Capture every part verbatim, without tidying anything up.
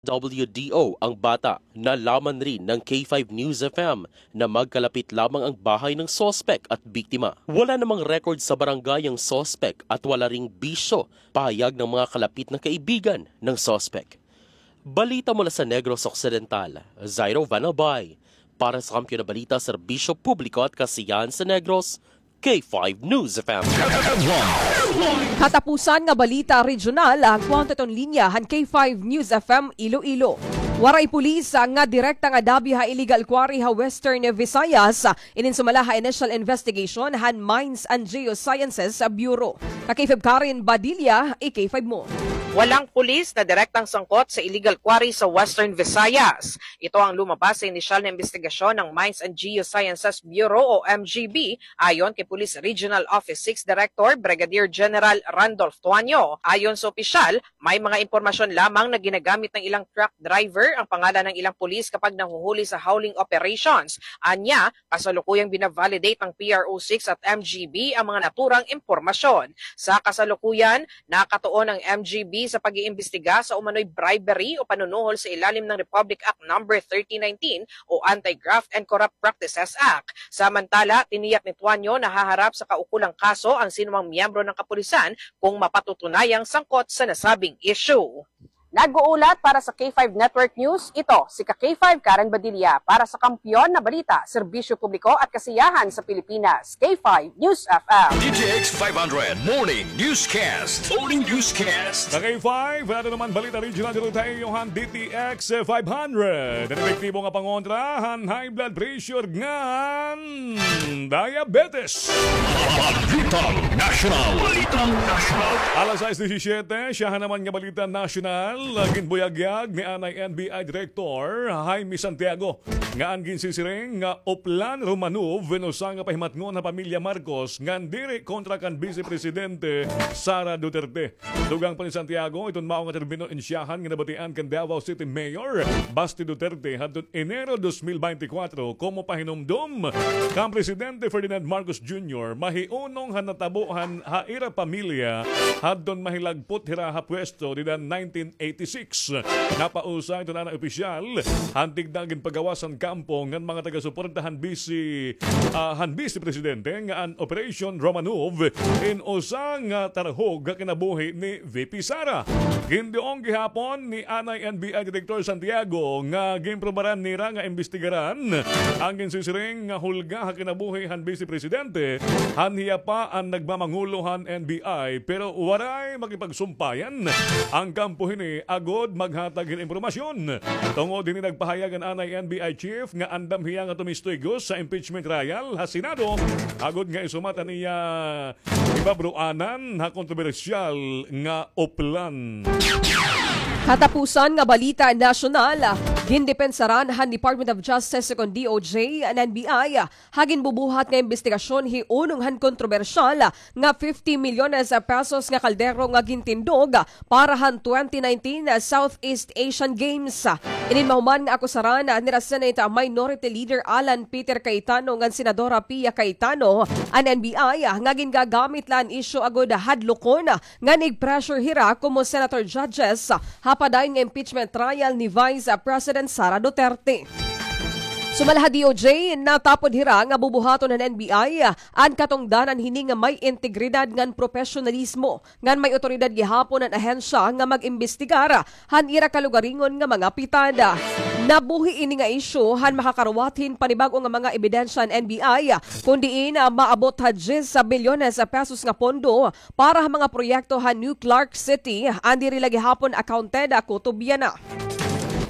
W D O ang bata. Nalaman rin ng K five News F M na magkalapit lamang ang bahay ng suspek at biktima. Wala namang record sa barangay ang suspek at wala ring bisyo, pahayag ng mga kalapit na kaibigan ng suspek. Balita mula sa Negros Occidental, Zairo Van Albay. Para sa Kampiyon na Balita, Serbisyo Publiko at Kasiyahan sa Negros, K five News F M. Katapusan nga balita regional, ah, kuwang ta iton linya han K five News F M Iloilo. Waray pulis, ah, nga direkta nga dabi ha illegal quarry ha Western Visayas, ah, inin sumala ha initial investigation han Mines and Geosciences Bureau. Ka K five Karen Badilla, i K five mo. Walang pulis na direktang sangkot sa illegal quarry sa Western Visayas. Ito ang lumabas sa inisyal na imbestigasyon ng Mines and Geosciences Bureau o M G B, ayon kay Police Regional Office six Director Brigadier General Randolph Tuanyo. Ayon sa opisyal, may mga impormasyon lamang na ginagamit ng ilang truck driver ang pangalan ng ilang pulis kapag nahuhuli sa hauling operations. Anya, kasalukuyang binavalidate ng P R O six at M G B ang mga naturang impormasyon. Sa kasalukuyan, nakatuon ang M G B sa pag-iimbestiga sa umano'y bribery o panunuhol sa ilalim ng Republic Act Number thirty nineteen o Anti-Graft and Corrupt Practices Act. Samantala, tiniyak ni Tuanyo na haharap sa kaukulang kaso ang sinumang miyembro ng kapulisan kung mapatutunayang sangkot sa nasabing issue. Nag-uulat para sa K five Network News, ito si ka K five Karen Badilla para sa Kampiyon na Balita, Serbisyo Publiko at Kasiyahan sa Pilipinas, K five News F M. D T X five hundred Morning Newscast. Morning Newscast. Sa K five, ano naman balita regional dito tayo, han D T X five hundred. An epektibo nga pangontra han high blood pressure ngan diabetes. Balitang Nasyonal. Balitang Nasyonal. Alas sais disisiete, siyahan naman nga balita nasyonal. Ginbuyagyag ni anay N B I Director Jaime Santiago nga an ginsisiring nga Oplan Romanov in usa nga pahimatngon ha pamilya Marcos ngan diri kontra kan Vice Presidente Sara Duterte. Dugang pa ni Santiago, iton mao nga termino in siyahan nga nabatian kan Davao City Mayor Basti Duterte hadton Enero dos mil beintikwatro komo pahinumdom kan Presidente Ferdinand Marcos Junior mahiunong han natabo han ha ira pamilya hadton mahilagpot hira ha pwesto dida nineteen eighty-six. Napausa iton anay opisyal han tigda ginpagawas han kampo ngan mga taga-suporta han bisi, ah, han Bisi Presidente nga an Operation Romanov in usa nga tarhog ha kinabuhi ni V P Sara. Ginduong gihapon ni anay N B I Director Santiago nga ginprobaran nira nga imbestigaran an ginsisiring nga hulga ha kinabuhi han Bisi Presidente, han hiya pa an nagmamangulo han N B I, pero waray makipagsumpayan an kampo hini agod maghatag hin impormasyon. Tungod hini, nagpahayag an anay N B I Chief nga andam hiya nga tumistigos sa impeachment trial ha Senado agod nga isumat an iya ipabruanan ha kontrobersyal nga Oplan. Katapusan nga balita nasyonal, gindepensaran han Department of Justice ukon D O J an N B I ha ginbubuhat nga imbestigasyon hiunong han kontrobersyal nga fifty milyones pesos nga kaldero nga gintindog para han twenty nineteen Southeast Asian Games. Inin mahuman nga akusaran nira Senate Minority Leader Alan Peter Cayetano ngan Senadora Pia Cayetano an N B I nga gingagamit la an isyu agod hadlokon ngan ig-pressure hira komo senator judges ha padayon nga impeachment trial ni Vice President Sara Duterte. Sumala ha D O J, natapod hira nga bubuhaton han N B I an katungdanan hini nga may integridad ngan propesyonalismo ngan may awtoridad gihapon an ahensya nga mag-imbestigar han ira kalugaringon nga mga pitad. Nabuhi ini nga isyu han makakaruwat hin panibag-o nga mga ebidensya an N B I, kon diin, ah, maabot ha diyes bilyones pesos nga pondo para ha mga proyekto ha New Clark City, an diri la gihapon accounted, ah, kutob yana.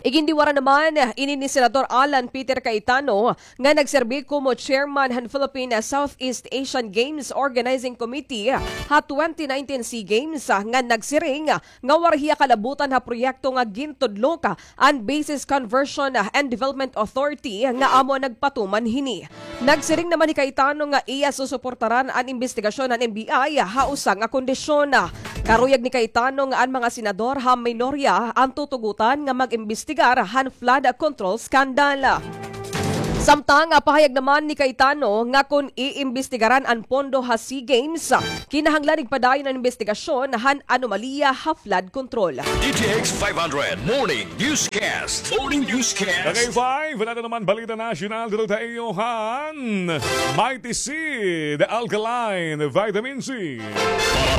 Igindiwara naman ini ni Senador Alan Peter Cayetano nga nagserbi komo chairman han Philippine Southeast Asian Games Organizing Committee ha twenty nineteen SEA Games, ah, nga nagsiring, ah, nga waray hiya kalabutan ha proyekto nga gintudlok an Bases Conversion and Development Authority nga amo an nagpatuman hini. Nagsiring naman hi Cayetano nga iya susuportaran an imbestigasyon han N B I ha usa nga kondisyon. Karuyag ni Cayetano nga an mga senador ha minorya an tutugotan nga mag-imbestigar han flood control scandal. Samtang, ah, pahayag naman ni Cayetano nga kon iimbestigaran an pondo ha SEA Games, ah, kinahanglan igpadayon an imbestigasyon han anomalya ha flood control. D T X five hundred Morning Newscast. Morning Newscast. Kagay five, nato naman balita nasyonal, dito tayo han Mighty C, the alkaline vitamin C.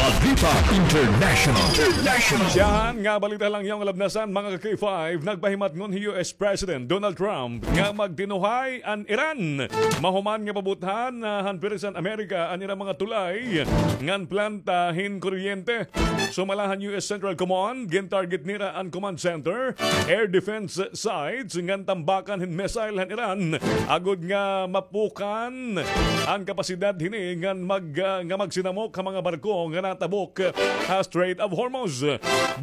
Balita International. International. Siyahan nga balita lang yung labnasan, mga ka-K five, nagpahimatngon hi U S President Donald Trump nga magtinuhay an Iran mahuman nga pabuthan, ah, han Pirisan Amerika an ira mga tulay ngan planta hin kuryente. Sumala han U S Central Command, gintarget nira an command center, air defense sites ngan tambakan hin missile han Iran agod nga mapukan an kapasidad hini ngan mag, ah, nga magsinamok ha mga barko nga natabok ha Strait of Hormuz.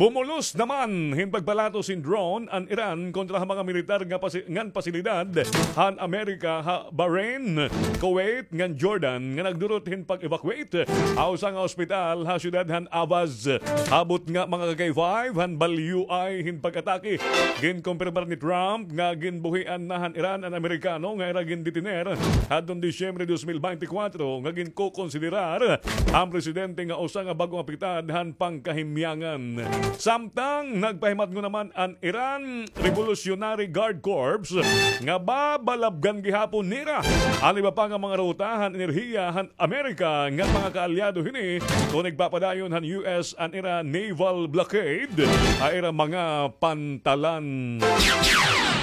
Bumulos naman hin pagpalatos hin drone an Iran kontra ha mga militar nga pasi-, ngan pasilidad han Amerika ha Bahrain, Kuwait ngan Jordan nga nagdurot hin pag-evacuate ha usa nga ospital ha siyudad han Ahvaz. Abot nga mga ka-K five han balyuay hin pag-atake. Ginkumpirmar ni Trump nga ginbuhian na han Iran an Amerikano nga ira gindetiner hadton Disyembre dos mil beintikwatro nga ginkokonsiderar an presidente nga usa nga bag-ong apektad han pangkahimyangan. Samtang nagpahimatngon naman an Iran Revolutionary Guard Corps nga babalabgan gihapon nira an iba pa nga mga ruta han enerhiya han Amerika ngan mga kaalyado hini kon igpapadayon han U S an ira naval blockade ha ira mga pantalan.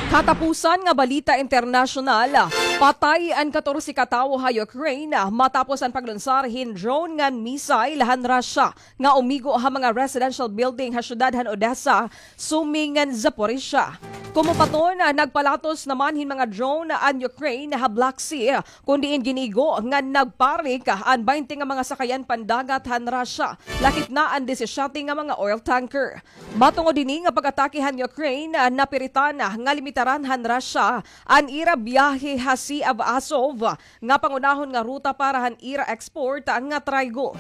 Katapusan nga balita internasyonal, patay an katorse ka tawo ha Ukraine matapos an paglunsar hin drone ngan missile han Russia nga umigo ha mga residential building ha syudad han Odessa, Sumy ngan Zaporizhia. Komo pa ton, nagpalatos naman hin mga drone an Ukraine ha Black Sea, kon diin ginigo nga nagparik an baynte nga mga sakayan pandagat han Russia, lakip na an disisiyete nga mga oil tanker. Matungod hini nga pag-atake han Ukraine, napiritan nga limitaran han Russia an ira biyahe ha Sea of Azov, nga pangunahon nga ruta para han ira export nga trigo.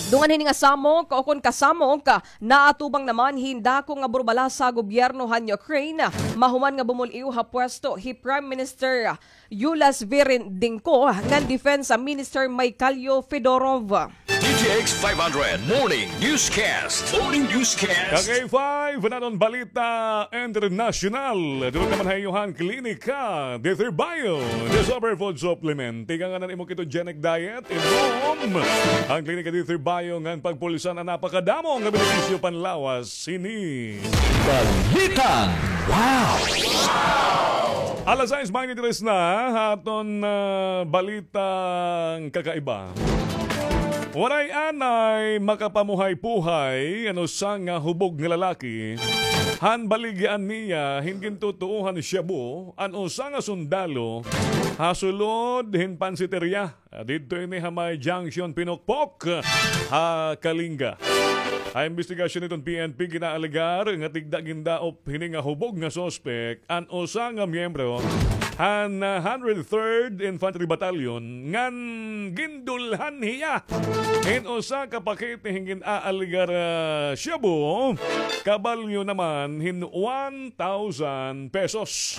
Dungan hini nga samok, o kon kasamok, naatubang naman hin dako nga burbalasa ha gobyerno han Ukraine, mahuman nga bumul-iw ha pwesto hi Prime Minister Yulia Sviridenko ngan Defense Minister Mykhailo Fedorov. D T X five hundred Morning Newscast. Morning Newscast. Ka-K five, naton balita internasyonal. Dito naman ha iyo han Klinika D three Bio, the superfood supplement. Tikang an imo ketogenic diet, inom an Klinika D three Bio ngan pagpulsan an napakadamo nga benepisyo panlawas. Sini. Balitang Wow! Alas sais beintitres na, ha aton, ah, balitang kakaiba. Waray anay makapamuhay-puhay an usa nga hubog nga lalaki han baligyaan niya hin gintutuohan shabu an usa nga sundalo ha sulod hin pansiterya. Ah, didto ini ha may Junction Pinokpok, ha Kalinga. Ha imbestigasyon hiton P N P, ginaalegar nga tigda gindaop hini nga hubog nga suspek an usa nga miyembro han, ah, hundred third Infantry Battalion ngan gindulhan hiya hin usa ka pakete hin gin-aalegar, ah, shabu, kabalyo naman hin one thousand pesos.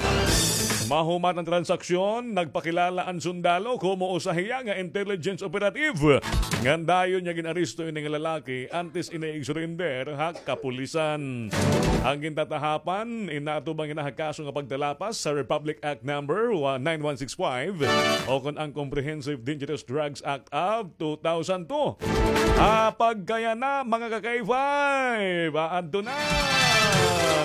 Mahuman an transaksyon, nagpakilala an sundalo komo usa hiya nga intelligence operative. Ngan dayon niya gin-aresto ini nga lalaki antes ini ig-surrender ha kapulisan. An gintatahapan, inaatubang ini ha kaso nga pagtalapas sa Republic Act Number nine one six five o kon ang Comprehensive Dangerous Drugs Act of two thousand two. Ah, pagkayana, mga ka-K five, aadto na.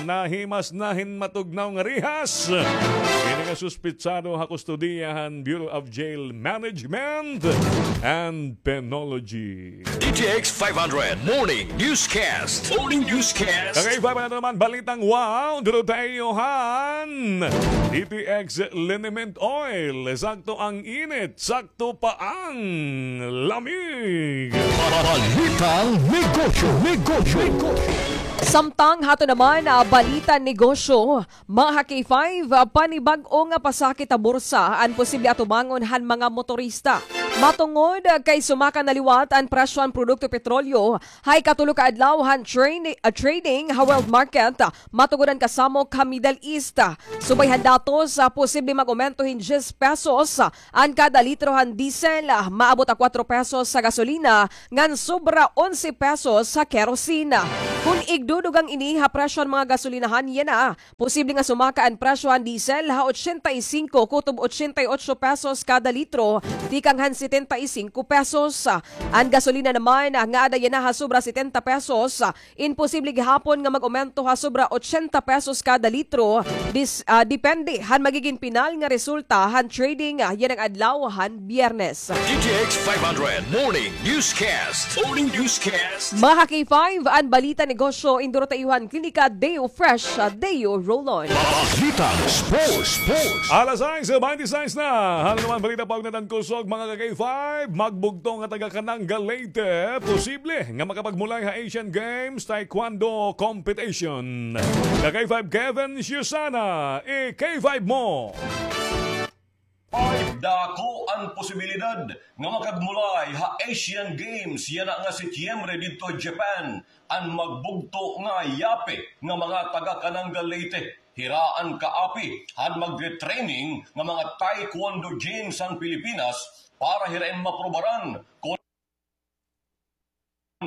Nahimas na hin matugnaw nga rihas ini nga suspetsado ha kustodiya han Bureau of Jail Management and Penology. D T X five hundred Morning Newscast. Morning Newscast. Ka-K five, ano naman balitang wow? Duro tayo han D T X Liniment Oil. Sakto ang init, sakto pa ang lamig. Balitang negosyo, negosyo, negosyo. Samtang hato naman, ah, balita negosyo, mga ka-K five, ah, panibag-o nga pasakit ha bursa an posible atubangon han mga motorista. Matungod kay sumaka na liwat an presyo han produkto petrolyo ha ikatulo ka adlaw han train-, ah, trading ha world market, matungod han kasamok ha Middle East. Subay han datos, ah, posible mag-omento hin diyes pesos an kada litro han diesel, ah, maabot ha kuwatro pesos sa gasolina, ngan sobra onse pesos sa kerosene. Kon igdudugang ini ha presyo han mga gasolinahan, yana, posible nga sumaka an presyo han diesel ha ochenta y cinco kutob ochenta y ocho pesos kada litro, tikang han setenta y cinco pesos. An gasolina naman, ah, nga ada yana ha sobra setenta pesos, ah, imposible gihapon nga mag-omento ha sobra ochenta pesos kada litro, dis-, ah, depende han magigin pinal nga resulta han trading, ah, yana nga adlaw han Biyernes. D T X five hundred Morning Newscast. Morning Newscast. Mga ka-K five, an balita negosyo, induro ta iyo han Klinika Deo Fresh, ah, Deo Roll-On. Balitang Sports, Sports. Alas sais baynte sais na. Ano naman balita, paugna han kusog, mga ka-K five? Magbugto nga taga Kananga, Leyte, posible nga makapagmulay ha Asian Games Taekwondo Competition. Ka-K five Kevin Siusana, i-K five mo. Ay, dako an posibilidad nga makagmulay ha Asian Games yana nga Setyembre didto ha Japan an magbugto nga yape nga mga taga Kananga, Leyte. Hira an kaapi han magre-training nga mga taekwondo jins han Pilipinas para hira in maprobaran kon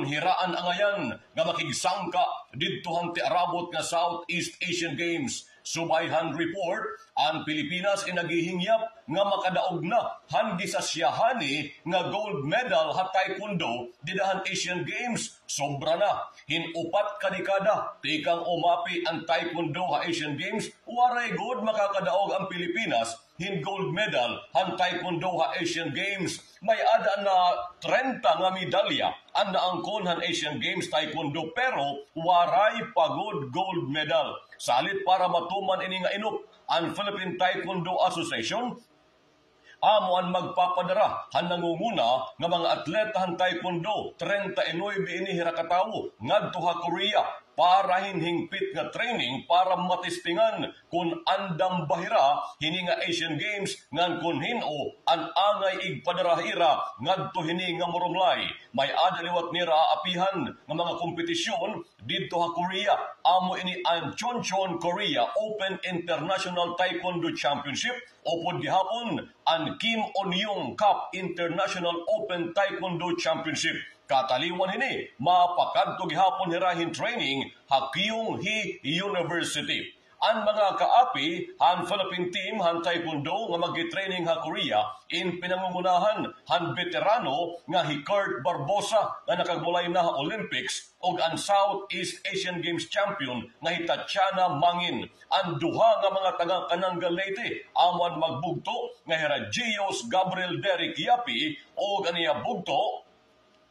hira an angayan nga makigsangka didto han tiarabot nga Southeast Asian Games. Subay han report, an Pilipinas in naghihingyap nga makadaog na han gisasyahan ni nga gold medal ha taekwondo dida han Asian Games. Sobra na hin upat ka dekada tikang umapi an taekwondo ha Asian Games, waray gud makakadaog an Pilipinas hin gold medal han taekwondo ha Asian Games. May-ada na trenta nga medalya an naangkon han Asian Games Taekwondo, pero waray pa gud gold medal. Salit para matuman ini nga inop, an Philippine Taekwondo Association amo an magpapadara han nangunguna nga mga atleta han taekwondo, treinta y nuebe ini hira ka tawo, ngadto ha Korea para hin hingpit nga training para matestingan kon andam ba hira hini nga Asian Games, ngan kon hin-o an angay igpadara hira ngadto hini nga marumlay. May-ada liwat nira aapihan nga mga kompetisyon didto ha Korea. Amo ini an Chonchon Korea Open International Taekwondo Championship, upod gihapon an Kim On-young Cup International Open Taekwondo Championship. Kataliwan hini, mapakadto gihapon hira hin training ha Kyung Hee University. An mga kaapi han Philippine team han taekwondo nga magti-training ha Korea in pinangungunahan han beterano nga hi Kurt Barbosa nga nakagmulay na ha Olympics ug an Southeast Asian Games champion nga hi Tatiana Mangin. An duha nga mga taga Kananga, Leyte, amo an magbugto nga hira Gios Gabriel Derek Yapi ug an iya bugto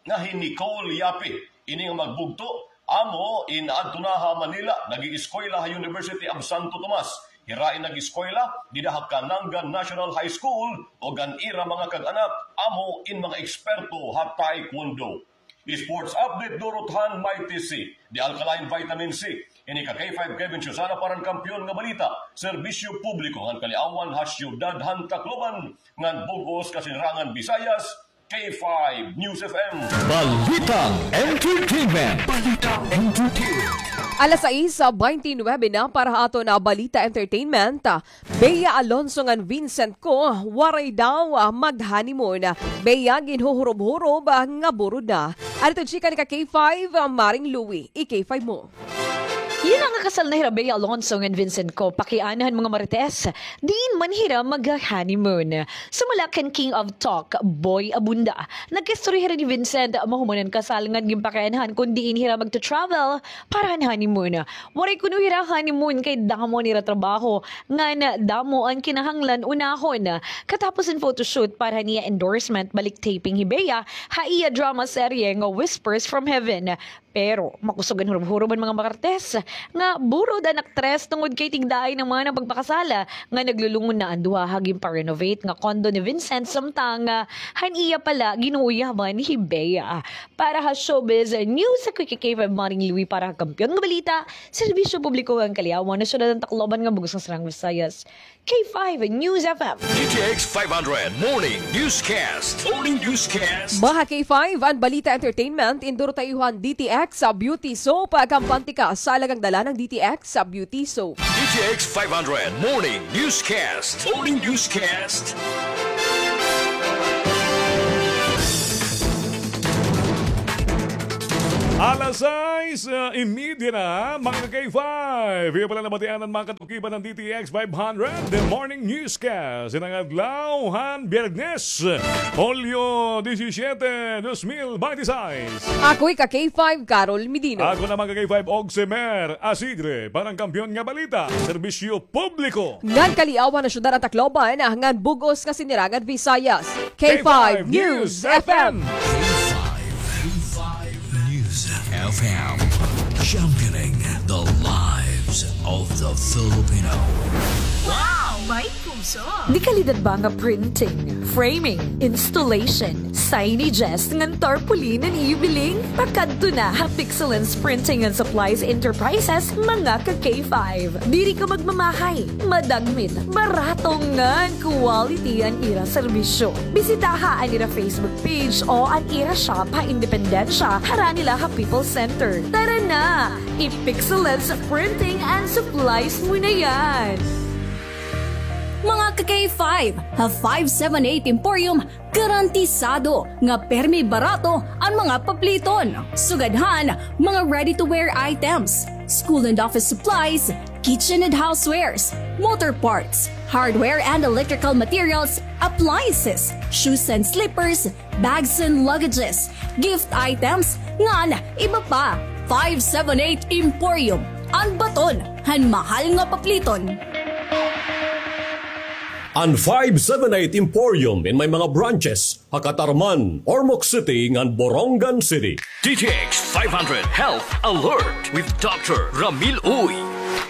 nga hi Nicole Yapi. Ini nga magbugto amo in adto na ha Manila, nag-ieskwela ha University of Santo Tomas. Hira in nag-eskwela dida ha Kananga National High School ug an ira mga kag-anak amo in mga eksperto ha taekwondo. Sports update, durot han Mighty C, The Alkaline Vitamin C. Ini ka K five Kevin Susana para han Kampiyon nga Balita, Serbisyo Publiko ngan Kaliawan ha Siyudad han Tacloban, ngan bug-os Kasinirangan Visayas, K five News F M. Balitang Entertainment. Balitang Entertainment. Alas sais baynte nuwebe na para ha aton nga Balita Entertainment. Bea Alonso ngan Vincent Co, waray daw, ah, mag-honeymoon. Bea, ginhuhurob-hurob, ah, nga burod na. Adto chika ni ka K five, ah, Maring Louie, i-K five mo. Yana nga kasal na hira Bea Alonso ngan Vincent Co, pakiana han mga marites, diin man hira mag-honeymoon. Sumala kan King of Talk, Boy Abunda, nagkaistorya hira ni Vincent mahuman han kasal ngan ginpakianahan kon diin hira magta-travel para han honeymoon. Waray kuno hira honeymoon kay damo an ira trabaho ngan damo an kinahanglan unahon. Katapos han photoshoot para han iya endorsement, balik taping hi Bea ha iya drama serye nga Whispers from Heaven. Pero makusog an hurob-hurob han mga Martes nga burod an aktres tungod kay tigdaay naman an pagpakasala nga naglulungon na an duha ha ginpa-renovate nga condo ni Vincent, samtang, ah, han iya pala ginuuyaban hi Bea. Para ha showbiz news, ako hi K five Maring Louie para ha Kampiyon nga Balita, Serbisyo Publiko ngan Kaliawan, Syudad han Tacloban ngan Bug-os nga Sirang Visayas. K five News F M. D T X five hundred Morning Newscast. Morning Newscast. Mga K five, an balita entertainment, indoro ta iyo han D T X sa Beauty Soap. Kampante ka sa alagang dala ng D T X sa Beauty Soap. D T X five hundred Morning Newscast. Morning Newscast. Alas sais, ah, y media na, mga ka-K five. Iyo pala nabatian an mga katukiban han D T X five hundred, The Morning Newscast. Ining adlaw han Biyernes, Hulyo disisyete, dos mil bente sais. Ako hi ka-K five, Carol Medino. Ako naman ka-K five, Ogsemer Asigre, para han Kampiyon nga Balita, Serbisyo Publiko ngan Kaliawan, Syudad han Tacloban ngan Bug-os nga Sinirangan Visayas. K five News F M. K five News F M, championing the lives of the Filipino. Wow! May puso! Dekalidad ba nga printing, framing, installation, signages ngan tarpaulin an iyo biling? Pakadto na ha Pixelens Printing and Supplies Enterprises, mga ka-K five. Diri ka magmamahay, madagmit, barato ngan quality an ira serbisyo. Bisitaha an ira Facebook page o an ira shop ha Independencia, harani la ha People's Center. Tara na! I-Pixelens Printing and Supplies mo na yan! Mga ka-K five, ha five seven eight Emporium, garantisado nga permi barato an mga papliton. Sugad han mga ready-to-wear items, school and office supplies, kitchen and housewares, motor parts, hardware and electrical materials, appliances, shoes and slippers, bags and luggages, gift items, ngan iba pa. Five seven eight Emporium, an baton han mahal nga papliton. An five seven eight Emporium in may mga branches ha Catarman, Ormoc City, ngan Borongan City. D T X five hundred Health Alert with Doctor Ramil Uy.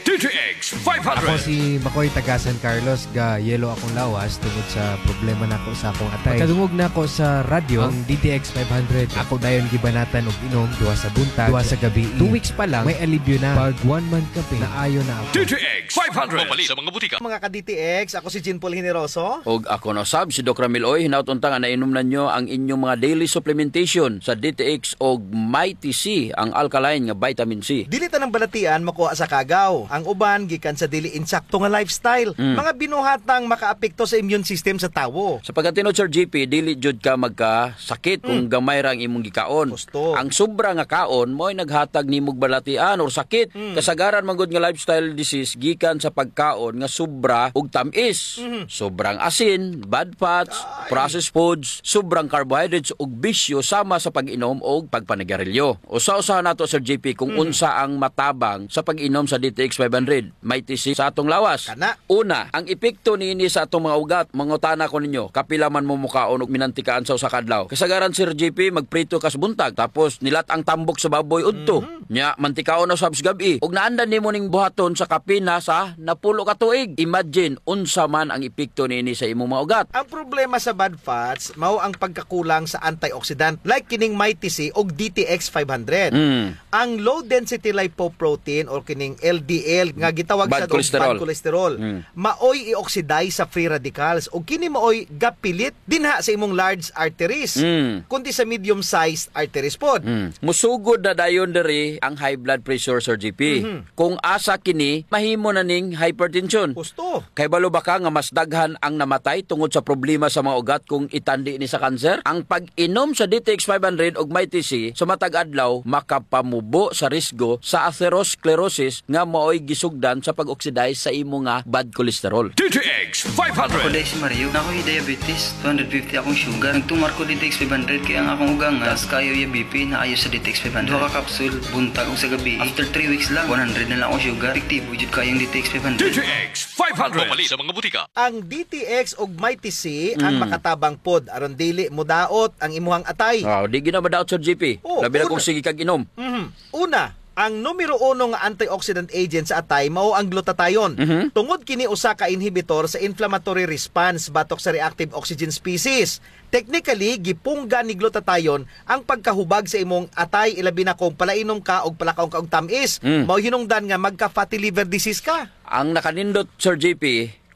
D T X five hundred. Ako si Makoy, taga San Carlos, ga-yellow akong lawas tungod sa problema nako sa akong atay. Pagkadungog nako sa radyo, ang D T X five hundred, ako dayon gibanatan og inom duha sa buntag, duha sa gabii. Two weeks pa lang, may alibyo na. Pag one month ka, naayo na ako. D T X five hundred. Mapalit sa mga butika. Mga ka-D T X, ako si Jean Paul Generoso. Og ako na usab, si Doc Ramil Uy. Hinaot unta nga nainom na niyo ang inyong mga daily supplementation sa D T X og Mighty C, ang alkaline nga vitamin C. Dili tanang balatian makuha sa kagaw. Ang uban gikan sa dili insakto nga lifestyle. Mm. Mga binuhatang makaapekto sa immune system sa tawo. Sa pagkatinuod, Sir J P, dili jud ka magkasakit kung gamay ra ang imong gikaon. Gusto. Ang sobra nga kaon mao'y naghatag nimog balatian or sakit. Mm. Kasagaran man gud nga lifestyle disease gikan sa pagkaon nga sobra og tam-is. Mhm. Sobrang asin, bad fats, processed foods, sobrang carbohydrates ug bisyo sama sa pag-inom og pagpanigarilyo. Usa-usaha nato, Sir J P, kung unsa ang matabang sa pag-inom sa D T X five hundred. Mighty C sa atong lawas. Kana. Una, ang epekto niini sa atong mga ugat. Mangutana ko ninyo, kapila man mo mukaon og minantikaan sa usa ka adlaw? Kasagaran, Sir J P, magprito ka sa buntag, tapos nilat-ang tambok sa baboy udto. Mhm. Nya, mantikaon na usab sa gab-i. Ug naandan nimo ning buhaton sa kapin na sa napulo ka tuig. Imagine, unsa man ang epekto niini sa imong mga ugat. Ang problema sa bad fats, mao ang pagkakulang sa antioxidant, like kining Mighty C ug D T X five hundred. Mm. Ang low density lipoprotein or kining L D L nga gitawag sad og bad cholesterol, maoy i-oxidize sa free radicals ug kini maoy gapilit dinha sa imong large arteries, kundi sa medium-sized arteries pod. Mm. Musugod na dayon diri ang high blood pressure, Sir J P. Mhm. Kung asa kini, mahimo na ning hypertension. Husto. Kay balo ba ka nga mas daghan ang namatay tungod sa problema sa mga ugat kung itandi ni sa kanser? Ang pag-inom sa D T X five hundred ug Mighty C sa matag adlaw makapamubo sa risgo sa atherosclerosis nga maoy gisugdan sa pag-oxidize sa imo nga bad cholesterol. D T X five hundred. Ako diay si Mario, naa ko hi diabetes, two hundred fifty akong sugar. Nagtumar ko D T X five hundred kay ang akong ugangan, taas kaayo iya B P, naayo sa D T X five hundred. Duha ka kapsul, buntag ug sa gabii. After three weeks lang, one hundred na lang akong sugar. Epektibo jud kaayo ang D T X five hundred. D T X five hundred. Mamalit sa mga butika. Ang D T X ug Mighty C ang Mm. makatabang pod aron dili modaot ang imuhang atay. Wow, di gyud na madaot, Sir J P. Oh, Labi na una. kung sige kag inom. Mhm. Una, ang numero uno nga antioxidant agent sa atay mao ang glutathione. Mhm. Tungod kini usa ka inhibitor sa inflammatory response batok sa reactive oxygen species. Technically, gipungga ni glutathione ang pagkahubag sa imong atay, ilabi na kung palainom ka og palakaw ka og tam-is. Mm. Mao hinungdan nga magka-fatty liver disease ka. Ang nakanindot, Sir J P,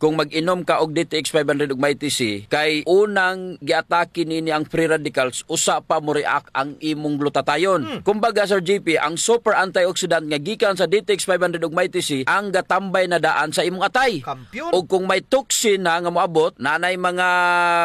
kung mag-inom ka og D T X five hundred ug Mighty C, kay unang giatake nini ang free radicals, usa pa mo-react ang imong glutathione. Hmm. Kumbaga, Sir J P, ang super antioxidant nga gikan sa D T X five hundred ug Mighty C, ang gatambay na daan sa imong atay. Kampiyon. Ug kung may toxin na nga moabot, nanay mga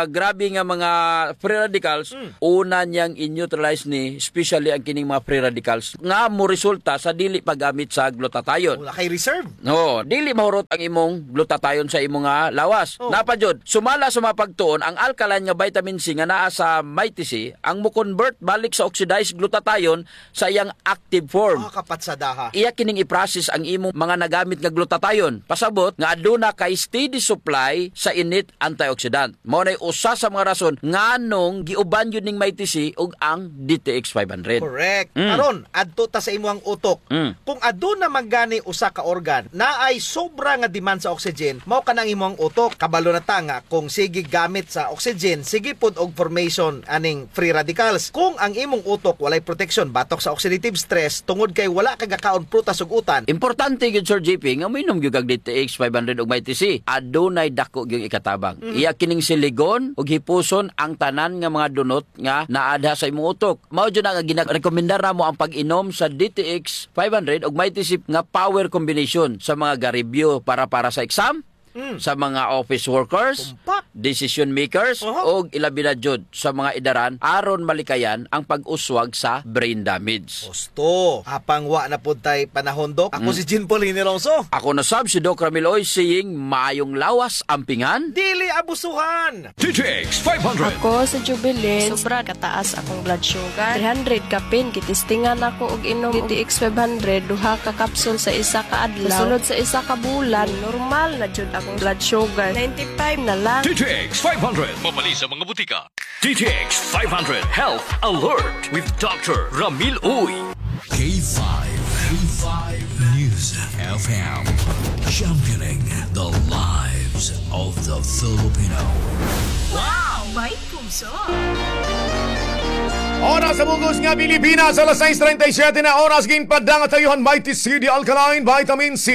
grabe nga mga free radicals, Hmm. una niyang i-neutralize ni, especially ang kining mga free radicals, nga moresulta sa dili paggamit sa glutathione. Wala kay reserve. No, dili mahurot ang imong glutathione sa imong, ah, lawas. Oh. Naa pa jud, sumala sa mga pagtuon, ang alkaline nga vitamin C nga naa sa Mighty C, ang mo-convert balik sa oxidized glutathione sa iyang active form. Ah, kapatsadaha. Iya kining i-process ang imong mga nagamit nga glutathione. Pasabot nga aduna kay steady supply sa init antioxidant. Mao nay usa sa mga rason nganong giuban jud ning Mighty C ug ang D T X five hundred. Correct. Mm. Karon, adto ta sa imuhang utok. Mm. Kung aduna man gani usa ka organ, naay sobra nga demand sa oxygen, mao kana ang imuhang utok. Kabalo na ta nga kung sige gamit sa oxygen, sige pod og formation aning free radicals. Kung ang imong utok walay proteksyon batok sa oxidative stress, tungod kay wala ka gakaon prutas ug utan. Importante gyud, Sir J P, nga moinom gyud kag D T X five hundred ug Mighty C. Adunay dako gyud ikatabang. Mm. Iya kining siligon ug hipuson ang tanan nga mga dunot nga naa diha sa imong utok. Mao jud na nga ginarekomendar namo ang pag-inom sa D T X five hundred ug Mighty C nga power combination sa mga garibyo para, para sa exam, Mm. sa mga office workers, Tumpak. decision makers, Oho. ug ilabi na jud sa mga edaran aron malikayan ang pag-uswag sa brain damage. Gusto. Apang wa na pod tay panahon, Dok. Ako Mm. si Jean Paul Hiniroso. Ako na sab si Doc Ramil Uy, saying, maayong lawas, ampingan. Dili abusuhan. D T X five hundred. Ako si Jubilin. Sobra kataas akong blood sugar. Three hundred kapin, gitistingan ako og inom D T X five hundred, duha ka kapsul sa isa ka adlaw. Sa sulod sa isa ka bulan, normal na jud akong blood sugar. Ninety-five na lang. D T X five hundred. Mabali sa mga butika. D T X five hundred Health Alert with Doctor Ramil Uy. K five, K five News F M, championing the lives of the Filipino. Wow! May puso! Oras sa bug-os nga Pilipinas, alas sais treinta y siete na oras, ginpadala ha iyo han Mighty C D Alkaline Vitamin C.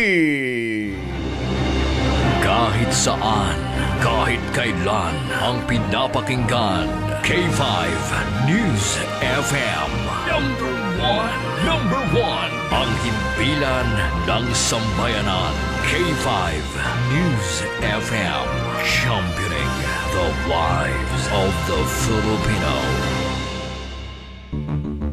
Kahit saan, kahit kailan, ang pinapakinggan, K five News F M. Number one, number one, ang himpilan ng sambayanan, K five News F M, championing the lives of the Filipino.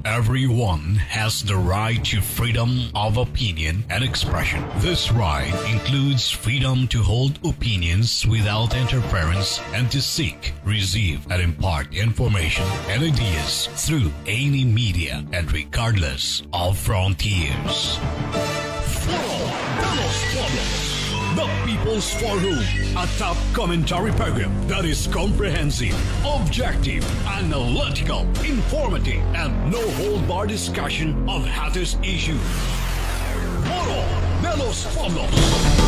Everyone has the right to freedom of opinion and expression. This right includes freedom to hold opinions without interference and to seek, receive, and impart information and ideas through any media and regardless of frontiers. Foro de los Pueblos, the People's Forum, a top commentary program that is comprehensive, objective, analytical, informative, and no-hold-bar discussion of hottest issues. Foro de los Pueblos.